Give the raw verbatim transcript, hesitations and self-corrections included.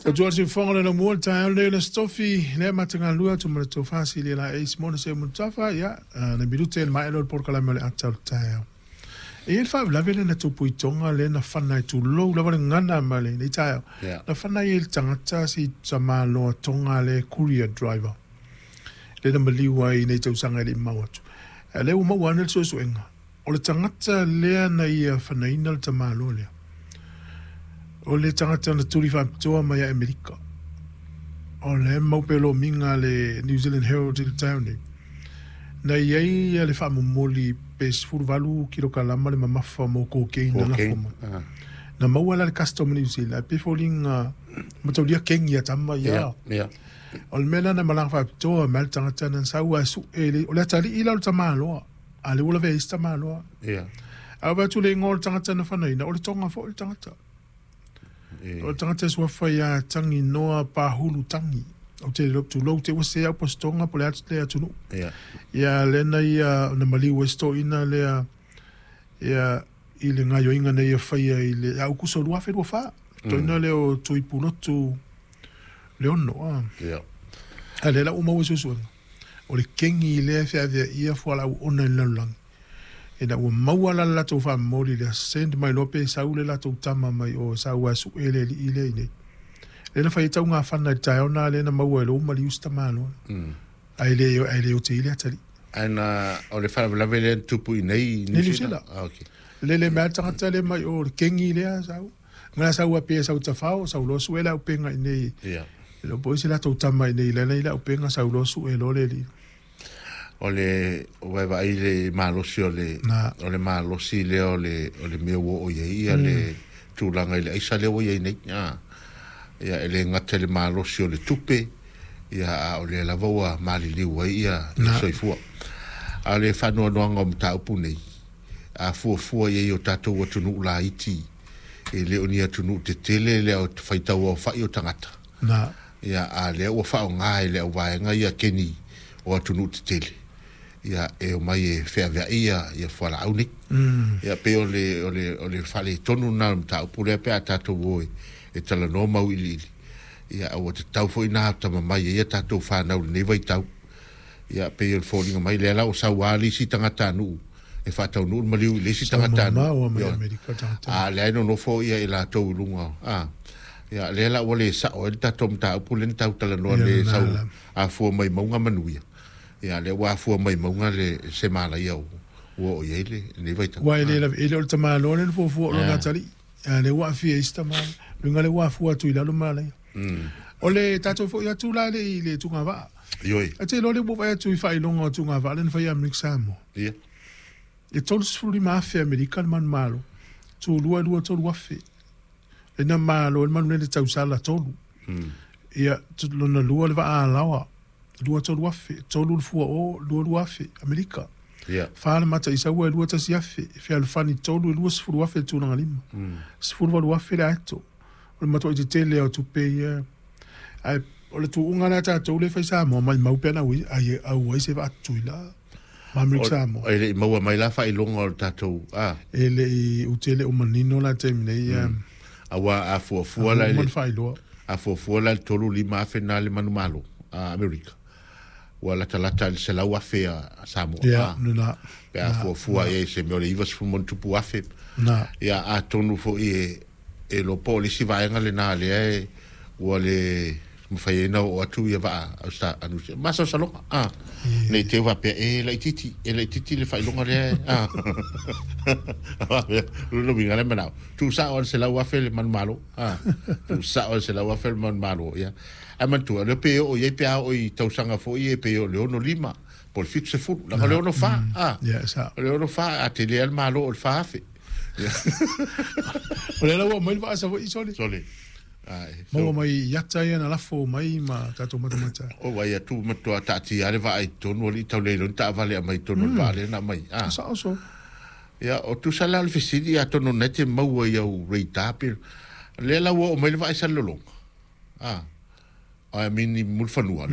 O tuā se fonga le mua le taeao le le stofi le matangalua tu ma le tofasi le la ace mona se mutafa ia na minute le mai lo porokalame o le ata o le taeao. E i ai le faalavelave le na tupu i Tonga le na fana i tulou lava le gana ma le nei taeao. Yeah. Na fana i le tagata si tamāloa Tonga le courier driver. Le na maliu ai nei tausaga e le i mau atu. A lea ua maua ane le suesuega. O le tagata lea na ia fanaina le tamāloa lea. O le tagata na tuli faapitoa mai ia Amerika. O le mau pea lomiga le New Zealand Herald i le taeao nei. Na i ai le faamomoli pe sefuluvalu kilokalama le mamafa mo cocaine na lafo mai. Ah. Na maua la le custom New Zealand. Ae pei foliga mataulia kengi a tama ia. Yeah, yeah. O le mea lena na malaga faapitoa mai le tagata na sau ae sue le o le atalii la o le tamāloa. A le ua lavea ai isi tamāloa. Yeah. A ua atu le igoa o le tagata na fanaina, o le Tonga foi le tagata. Yeah. O le tagata e suafa ia Tangi Noa Pahulu Tangi. O te tulou te ua se au po se Tonga po le atu le atunuu. Yeah. Ia lena ia na maliu ai se toeaina lea ia i le gaioiga nei ia faia i le Aukuso lua afe lua fa. Toeaina lea o Tuipulotu Leono. A. Yeah. A lea la ua maua suesuega. O le kengi lea e feaveaia fualaau ona i le lalolagi. Ina ua maua la le latou faamomoli lea send mai loa pe sau le latou tama mai o sau ae sue le alii lea i inei. Lea na fai ai taugafana i le taeao na lea na maua e lou maliu se tamāloa. Ae le ae le ote i le atalii. Ae na o le faalavelave lea na tupu i nei Niu Sila. Ah, okay. Lele mai tagata lea mai o le kengi lea sau. Ngā sau a pe sau tafao, sau loa sue le aupenga i nei. Yeah. E lo po se latou tama i nei lana i le aupenga sau loa sue loa le alii. O le vaevaai le malosi o le Na. o le malosi lea o le o le mea ua oo i ai ia le tulaga i le aisa lea ua i ai nei. Ah. Ia e le gata i le malosi o le tupe, ia a o lea lava ua maliliu ai ia ia Na. soifua. A o le faanoanoaga o mataupu nei, a fuafua i ai o tatou atunuu laiti, e le o ni atunuu tetele lea o faitau aofai o tagata. Na. Ia a lea ua faaaoga e le auvaega ia keni o atunuu tetele. Ia e omai e feaveai ia ia fualaau nei. Mm. Ia pei o le o le o le faaletonu lena o le mataupu lea pe a tatou o e e talanoa mau iliili. Ia ua tatau foi na tamamai ai ia tatou whanau lenei vaitau. Ia pei o le foliga mai lea la o sauā le isi tagatanuu e faataunuu le maliu i le isi Sau tagatanuu. mamao mai Ioe. Amerika tagata. A lea e nonofo ia i latou i luga. A ia lea la ua le sao ai le tatou mataupu lea na tau talanoa Ia le lena sau la. afua mai mauga manuia. Ia lea ua afua mai mauga le se malaia ua oo i ai le lenei vaitau. Ua e le lava e le o le tamāloa lea na fuafua o lona Ah. atalii. A lea ua aafia ai isi tamāloa. Luga lea ua afua atu i lalo malaia. Mm. O le tatou foi atu la le i le tugavaa. Ioe. A te iloa le ua vaai atu i faailoga o tugavaa lea na fai ia Amerika Samoa. Ia. E tolu sefulu lima afe Amerika le manumalo. Tulua lua tolu afe. Lena malo le manu le tausala tolu. Mm. Ia tu- lona lua le vaalaoa. Lua tolu afe. Tolu le fua o lua lua afe Amerika. Ia. Fa le mata i saua e lua tasi afe. Fealofani tolu e lua sefulu afe le tulaga lima. Mm. Sefulu valu afe le aeto. O le matuai tetele o tupe ia. Ae o le tuuga lea tatou le fai Samoa mai mau pe ana ui ai au ai se vaatutuila. Ma Amerika Samoa. E le i maua mai la faailoga o le tatou a E le i utele o manino la taimi nei ia. aua a fuafua la i Uma le na faailoa. a fuafua la i le tolu lima afe na le manumalo a Amerika. Ua latalata i le selau afe a a Samoa. Ia, A, lena. pe a fuafua i ai se mea o le iva sefulu ma ona tupu afe. Na. Ia atonu foi e e iloa po o le isi vaega lenā lea e ua le mafai ai na oo atu ia vaa austa anusia masalosaloga a nei te faapea e laititi e laititi le faailoga lea e a lona uiga le manao tuusao a le selau afe le manumalo a tuusao a le selau afe le manumalo ia ae manatua lea pe oo i ai pe a oo i tausaga foi e pe o le ono lima po o le fitu sefulu laga o le ono fa a Ia, sa. o le ono fa a tele a le malo o le fa afe O le la ua mai le vaa Savaii sole. sole ai Maua mai i ata ia na lafo mai ma tatou matamata. O ai atu matua taatia le vaa i totonu alii tauleloni taavale aumai totonu o le vaa lea na aumai a Sao so. ia o tusa la o le fesili atonu na e te maua i au radar pe lea la ua oo mai le vaa i Salelologa a I mean i Mulifanua